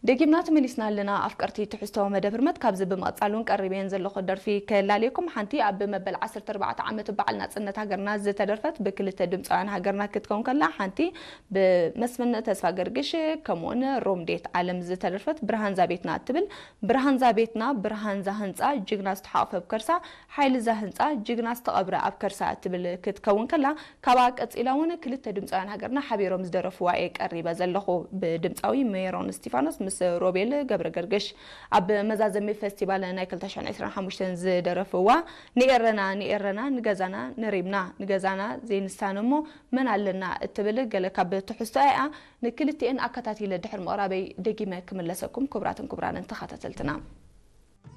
ደጊምና ተመሊስና ኣለና ኣፍቀርቲ ትሕዝቶ መደብ ህርመት። ካብዚ ብምቕጻል እውን ቀሪበየን ዘለኹ ደርፊ ከላልየኩም። ሓንቲ ኣብ መበል ዓሰርተ ኣርባዕተ ዓመት በዓል ናጽነት ሃገርና ዝተደርፈት ብክልተ ድምፃውያን ሃገርና ክትከውን ከላ፣ ሓንቲ ብመስፍን ተስፋ ገርግሽ ከምኡውን ሮምዴት ዓለም ዝተደርፈት ብርሃን ዛቤትና እትብል። ብርሃን ዛቤትና ብርሃን ዛህንፃ ጅግና ዝተሓቕፈ ኣብ ከርሳ፣ ሓይሊ ዛህንፃ ጅግና ዝተቐብረ ኣብ ከርሳ እትብል ክትከውን ከላ፣ ካብኣ ቀጺላ እውን ክልተ ድምፃውያን ሃገርና ሓቢሮም ዝደረፍዋ እየ ቀሪበ ዘለኹ። ብድምፃዊ ሜሮን እስቲፋኖስ ምስ ሮቤል ገብረ ገርግሽ ኣብ መዛዘሚ ፌስቲቫል ናይ ክልተ ሽሕን ዕስራን ሓሙሽተን ዝደረፍዋ ንኤረና ንኤረና ንገዛና ነሪምና ንገዛና ዘይንሳነ እሞ መን ኣለና እትብል ገለ ካብ ትሕዝቶ እያ። ንክልቲኤን ኣከታቲለ ድሕሪ ምቕራበይ ደጊመ ክምለሰኩም ክቡራትን ክቡራንን ተኸታተልትና።